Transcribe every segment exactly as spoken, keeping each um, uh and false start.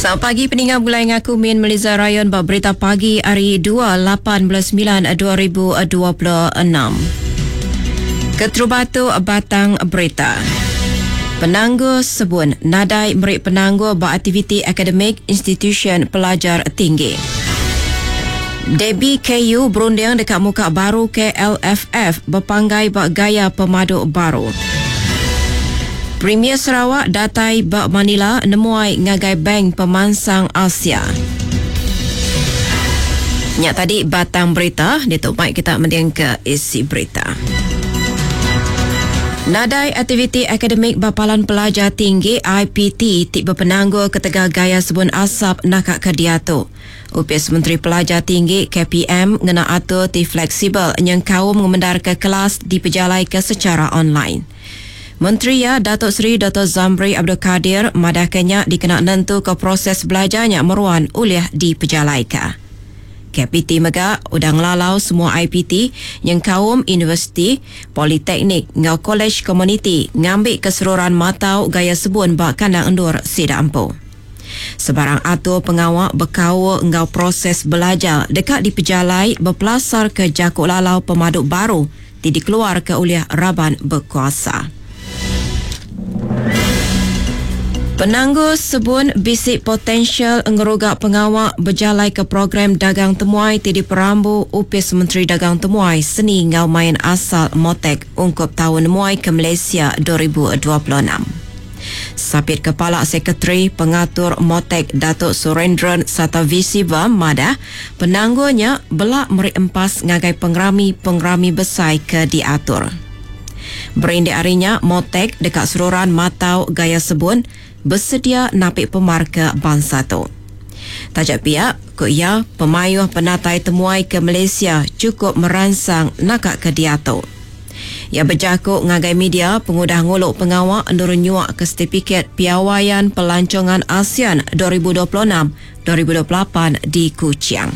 Selamat pagi peninggal mulai ngaku Min Meliza Rayon ba berita pagi hari dua lapan belas sembilan dua ribu dua puluh enam. Keterubatu batang berita. Penangguh sebun nadai meri penangguh ba aktiviti akademik institusi pelajar tinggi. Debbie K U berunding dekat muka baru K L F F berpanggai ba gaya pemadu baru. Premier Sarawak datai ba Manila nemuai ngagai Bank Pemansang Asia. Nyak tadi batang berita, ditutup baik kita mending ke isi berita. Nadai aktiviti akademik bapalan pelajar tinggi I P T ti berpenanggul ketegal gaya sebun asap nakak ke diatu. Upis Menteri Pelajar Tinggi K P M ngena atur ti fleksibel yang kaum ngemendar ke kelas dipejalai ke secara online. Menteri ya Datuk Seri Doktor Zambry Abdul Kadir madahkannya dikena nentu ke proses belajarnya meruan oleh dipejalaika. K P T mega udah ngelalau semua I P T yang kaum universiti, politeknik ngau kolej komuniti ngambil keseluruhan matau gaya sebun bak kandang endur sida empu. Sebarang atur pengawak berkau ngau proses belajar dekat dipejalai berpelasar ke jakuk lalau pemaduk baru ti dikeluar ke oleh raban berkuasa. Penangguh sebun bisik potensial ngerugak pengawak berjalai ke program dagang temuai ti diperambu Upis Menteri Dagang Temuai Seni Ngau Main Asal Motek ungkup tahun muai ke Malaysia dua ribu dua puluh enam. Sapit Kepala Sekretari Pengatur Motek Datuk Surendran Satavisiva madah penangguhnya belak meri empas ngagai pengerami-pengerami besar ke diatur. Berindik harinya Motek dekat seluruhan matau gaya sebun bersedia napik pemar ke bangsa tu. Tajak pihak, ku ia pemayuh penatai temuai ke Malaysia cukup merangsang nakak ke diatu. Ia berjakuk ngagai media pengudah nguluk pengawak nurun nyuak ke sertifikat piawaian pelancongan ASEAN dua ribu dua puluh enam dua ribu dua puluh lapan di Kuching.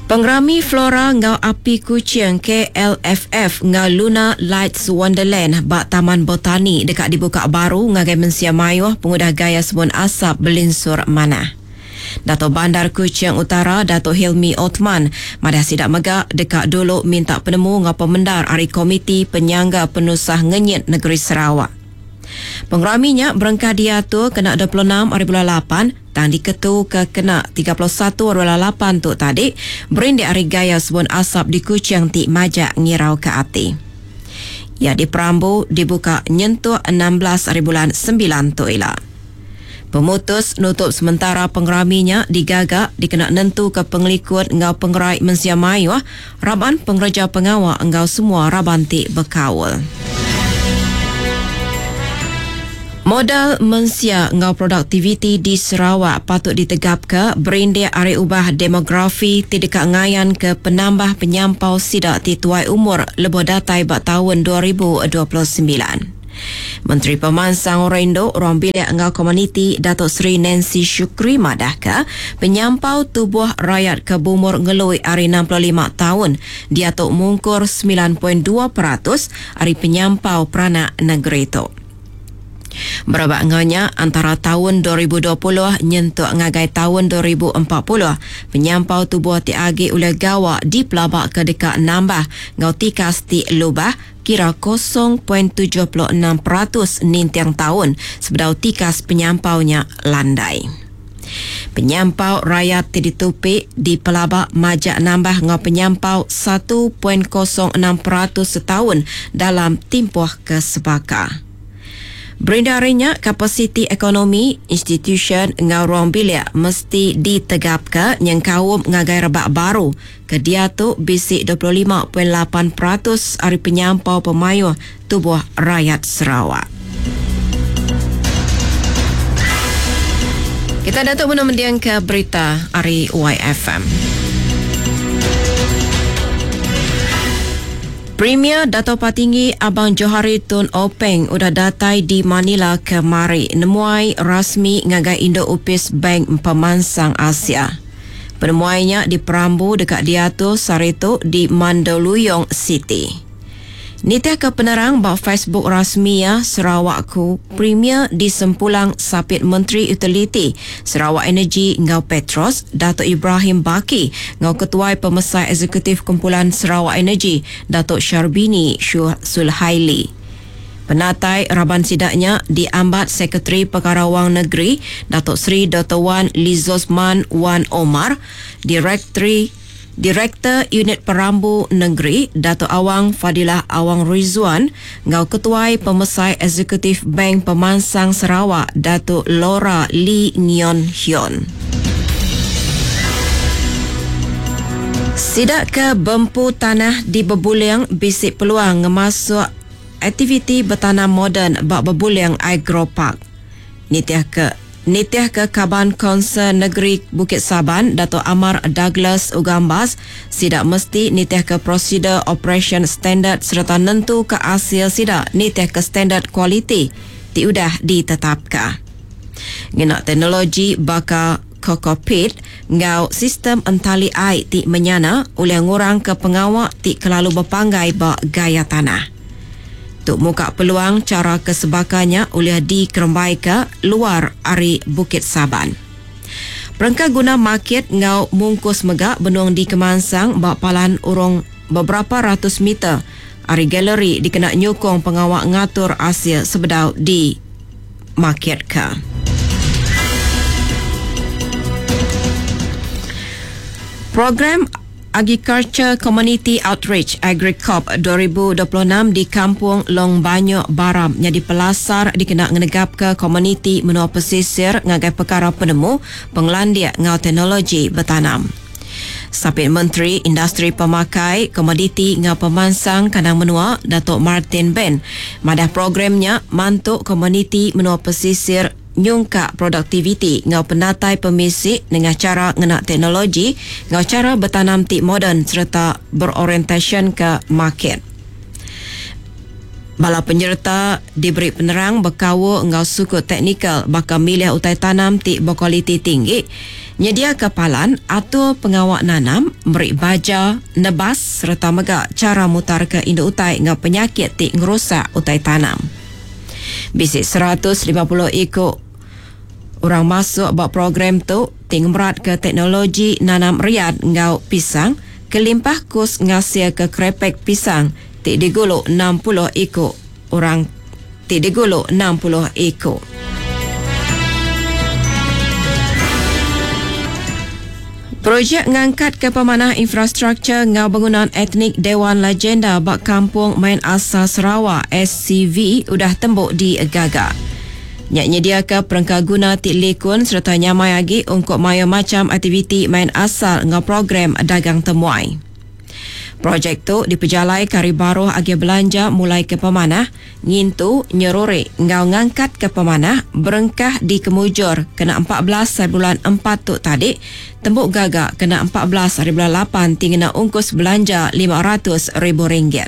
Pengerami Flora ngau Api Kuching K L F F ngau Luna Lights Wonderland bak Taman Botani dekat dibuka baru ngagai mensia mayuh pengudah gaya sebun asap belinsur manah. Dato' Bandar Kuching Utara Dato' Hilmi Othman madah sidak megak dekat dulu minta penemu ngau pemendar ari Komiti Penyangga Penusah Ngenyit Negeri Sarawak. Pengeraminya berengkah diatur kena dua puluh enam hari bulan lapan tang diketu ke kena tiga puluh satu hari bulan lapan tu tadi berindik hari gaya sebun asap di Kuching ti majak ngirau ke ati. Ia diperambu dibuka nyentuh enam belas hari bulan sembilan tu ila. Pemutus nutup sementara pengeraminya digagak dikena nentu ke pengelikut ngau pengerai mensia mayuh raban pengereja pengawak ngau semua raban ti berkaul. Modal mensia ngau produktiviti di Sarawak patut ditegap ke berindik ari ubah demografi ti dekat ngayan ke penambah penyampau sidak ti tuai umur lebuh datai bak tahun dua ribu dua puluh sembilan. Menteri Pemansang Orendo Ruang Bilik Ngau Komuniti Datuk Seri Nancy Shukri madah ke penyampau tubuh rakyat ke bumur ngelui hari enam puluh lima tahun diatuk mungkur sembilan perpuluhan dua peratus hari penyampau peranak negeri itu. Berabak nganya antara tahun dua ribu dua puluh nyentuk ngagai tahun dua ribu empat puluh penyampau tubuh ti agi oleh gawak di pelabak ke dekat nambah ngau tikas ti lubah kira kosong perpuluhan tujuh enam peratus nintiang tahun sebedau tikas penyampaunya landai. Penyampau rakyat ti ditupik di pelabak majak nambah ngau penyampau satu perpuluhan kosong enam peratus setahun dalam tempoh kesebaka. Berindarinya kapasiti ekonomi, institusi ngau ruang bilik mesti ditegapkan yang kaum ngagai rebak baru. Kedia tu bisik dua puluh lima perpuluhan lapan peratus hari penyampau pemayuh tubuh rakyat Sarawak. Kita datuk mendiang ke berita hari Y F M. Premier Dato' Patinggi Abang Johari Tun Openg udah datai di Manila kemari nemuai rasmi ngagai Indo Upis Bank Pemansang Asia. Penemuainya diperambu dekat diatur saritu di Mandaluyong City. Nitih ke penerang ba Facebook rasmi ya Sarawakku, Premier di Sempulang Sapit Menteri Utiliti Sarawak Energy ngau Petros, Dato' Ibrahim Baki ngau Ketuai Pemesai Eksekutif Kumpulan Sarawak Energy, Dato' Sharbini Sulhaili. Penatai Raban Sidaknya diambat Sekretari Perkara Wang Negeri, Dato' Seri Doktor Wan Lizosman Wan Omar, Direktori Direktur Unit Perambu Negeri, Dato' Awang Fadilah Awang Rizwan, ngau Ketuai Pemesai Eksekutif Bank Pemansang Sarawak, Dato' Laura Lee Ngion Hyun. Sidak ke bempu tanah di Bebuling bisik peluang ngemasuk aktiviti bertanam moden bak Bebuling Agro Park. Nitih ke Nitih ke Kaban Konsel Negeri Bukit Saban, Dato' Amar Douglas Ugambas, sidak mesti nitih ke prosedur operation standard serta nentu ke hasil sidak nitih ke standard kualiti ti udah ditetapkan. Ngena teknologi baka kokopit ngau sistem entali air ti menyana oleh ngurang ke pengawak ti kelalu berpanggai ba gaya tanah. Tuk muka peluang cara kesebakannya oleh dikerembai ke luar ari Bukit Saban. Perengka guna market ngau mungkus megak benung di Kemansang bak palan urung beberapa ratus meter ari galeri dikena nyukong pengawak ngatur Asia sebedau di market ke. Program Agriculture Community Outreach AgriCorp dua ribu dua puluh enam di Kampung Long Banyok Baram jadi pelasar dikena ngenegap ke komuniti menua pesisir ngagai perkara penemu penglandia ngau teknologi bertanam. Sapit Menteri Industri Pemakai Komoditi ngau Pemansang Kandang Menua Datuk Martin Ben madah programnya mantuk komuniti menua pesisir nyungkak produktiviti ngau penatai pemisik dengan cara ngena teknologi ngau cara bertanam ti moden serta berorientasi ke market. Bala penyerta diberi penerang berkawa ngau suku teknikal bakal milih utai tanam ti berkualiti tinggi, nyedia kepalan atau pengawak nanam, beri baja, nebas serta megak cara mutar ke induk utai ngau penyakit ti ngerusak utai tanam. Bisik seratus lima puluh ikut orang masuk buat program tu tingmerat ke teknologi nanam riad ngau pisang kelimpah kus ngasil ke krepek pisang ti diguluk enam puluh ikut orang ti diguluk enam puluh ikut. Projek ngangkat ke pemanah infrastruktur ngau bangunan etnik Dewan Legenda bak Kampung Main Asal Sarawak S C V udah tembuk di Gagak. Nyak nyedia ke perengka guna ti likun serta nyamai lagi untuk maya macam aktiviti main asal ngau program dagang temuai. Projek tu dipejalai kari baruh agi belanja mulai ke pemanah, ngintu, nyeruri, ngau ngangkat ke pemanah, berengkah di Kemujur kena empat belas hari bulan empat tu tadi, tembuk gagak kena empat belas hari bulan lapan tinggi ungkus belanja lima ratus ribu ringgit.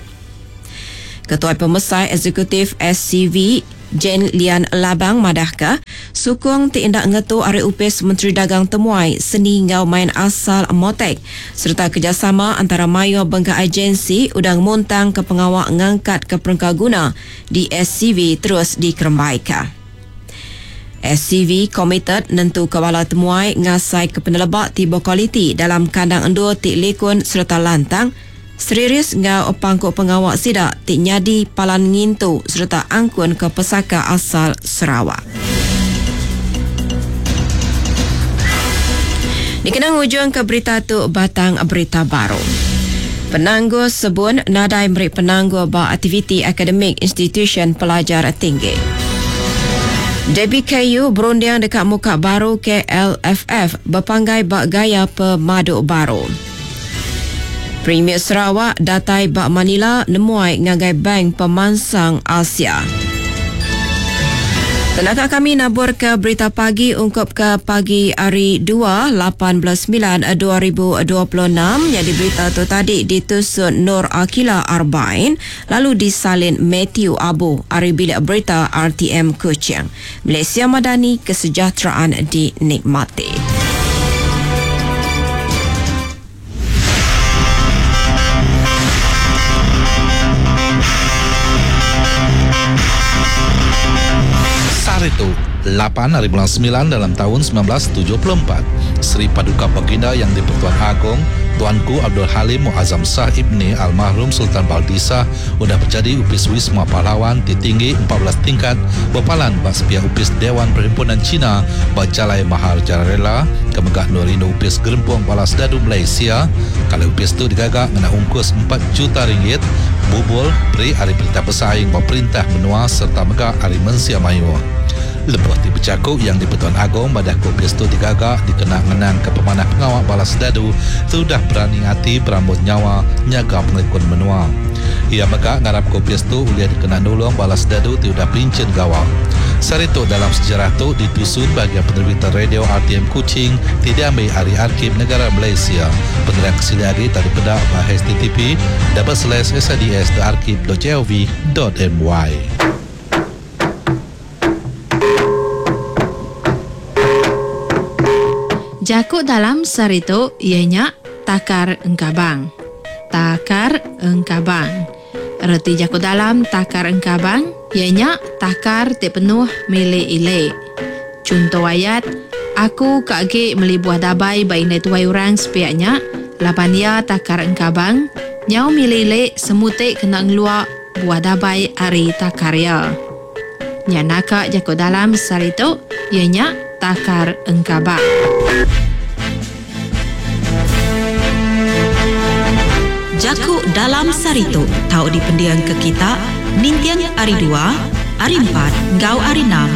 Ketua Pemesai Eksekutif S C V Jane Lian Labang madahka sukung ti indak ngetu ari upis Menteri Dagang Temuai Seni ngau Main Asal Motek serta kerjasama antara mayo bengka agensi udang muntang ke pengawak ngangkat ke perengka guna di S C V terus dikerembaika. S C V committed nentu kewala temuai ngasai ke penelebak tiba kualiti dalam kandang endur ti likun serta lantang serius ngau pangkuk pengawak sidak ti nyadi palan ngintu serta angkun ke pesaka asal Sarawak. Dikenang ujung ke berita tu batang berita baru. Penangguh sebun nadai meri penangguh ba aktiviti akademik institusi pelajar tinggi. D B K U berundiang dekat muka baru K L F F berpanggai bak gaya pemaduk baru. Premier Sarawak datai bak Manila nemuai ngagai Bank Pemansang Asia. Tenaga kami nabur ke berita pagi ungkup ke pagi hari dua, lapan belas sembilan dua ribu dua puluh enam. Jadi berita tu tadi ditusun Nur Akila Arbain lalu disalin Matthew Abu ari bilik berita R T M Kuching. Malaysia Madani, kesejahteraan dinikmati. tu, lapan ari bulan semilan dalam taun semilan belas tujuh puluh empat, Seri Paduka Baginda Yang di-Pertuan Agong Tuanku Abdul Halim Muazzam Shah Ibni Almarhum Sultan Baldisah udah bejadi Upis Wisma Pahlawan ti tinggi empat belas tingkat bepalan ba sepiak Upis Dewan Perhimpunan Cina ba Jalai Maharajalela ke mega endur indu Upis Gerempung Balas Dadu Malaysia. Kalau upis tu digaga ngena ungkus empat juta ringgit bubul beri ari perintah besai enggau perintah menua serta mega ari mensia mayuh. Lebuh ti bejaku Yang di-Pertuan Agong madah ke upis tu digaga dikena ngenang ke pemanah pengawa balas dadu tu udah berani ati berambut nyawa nyaga pengelikun menua. Ia mega ngarap ke upis tu ulih dikena nulung balas dadu ti udah pincin gawa. Sehari tu dalam sejarah tu ditusun bahagian penerbitan radio R T M Kuching ti diambil ari Arkib Negara Malaysia. Penerang kesili agi tadi peda ba H T T P double slash S I D S dot arkib dot G O V dot M Y. Jaku dalam sehari tu ianya takar engkabang. Takar engkabang. Reti jaku dalam takar engkabang ianya takar ti penuh milik ilik. Contoh ayat, aku kagi meli buah dabai ba indai tuai orang sepiaknya, laban ia takar engkabang, nyau milik ilik semutik kena ngeluak buah dabai ari takar ia. Nya naka jaku dalam sehari tu ianya takar engkabang. Jaku dalam sehari tu tau dipendiang ke kita ninting hari dua, hari empat, ngau hari enam.